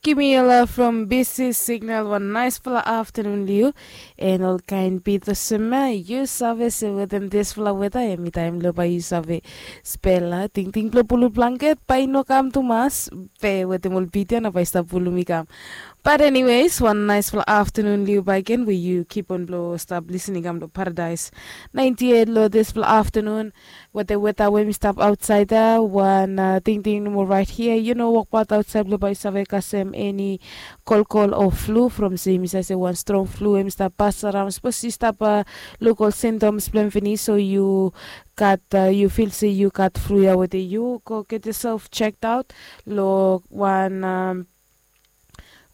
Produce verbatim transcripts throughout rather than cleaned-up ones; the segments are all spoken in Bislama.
Giving you love from B C Signal. Wan naispela aftanun liu. En olkain bit olsem ya, yu save se wetem dispela weta em i taim lo bai yu save spela tingting blo pulu blanket bai i no kam tumas. Pe wetem ol bit ya na bai i stap pulum i kam. But anyways, wan naispela aftanun liu bai gen we yu kip on blo stap lisin i kam lo Paradise ninety eight lo dispela aftanun. Wetem weta we mi stap ausait ya, wan tingting nomo rait hia, yu no wokbaut ausait blo bai yu save kasem eni kolkol o flu from se mi save se wan strong flu em i stap pas aram. Sapos yu stap luk ol sintoms blong em finis o yu gat, yu fil se yu gat flu ya wetem yu, go get yourself checked out lo wan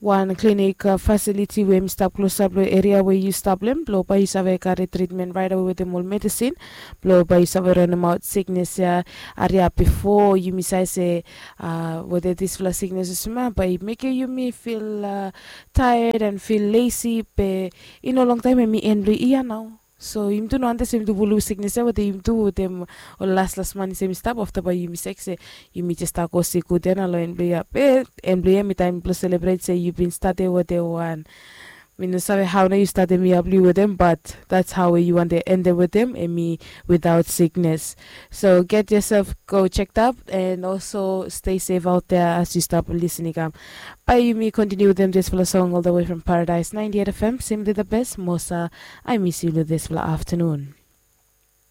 wan klinik fasiliti we em i stap klosap long eria we yu stap long em, blong bai yu save karim tritmen raitawe wetem ol medisin blong bai yu save ranimaot siknes ya. Hariap bifo yumi save se weda dispela siknes olsem ya bai mekim yumi fil taet and fil lesi, be i no longtaim em i en blong yia nau. So yumi tu no wantaim se yumi tu pulum siknes ya wetem yumi tu wetem ol laslas man i se yumi stap, afta bai yumi sek se yumi jes stap go sikut ya na long en blong yia. Be en blong yia em i taim blong selebret se yu bin statem wetem wan, mi no save hau na yu statem yia blong yu wetem, bat that's hau we yu wantem endem wetem em i without siknes. So get yourself go checked up and also stay safe out there as yu stap lisin i kam. Bai yumi kontiniu wetem dispela song all the way from Paradise ninety eight F M, simply the best. Mosa, I miss you lo dispela aftanun.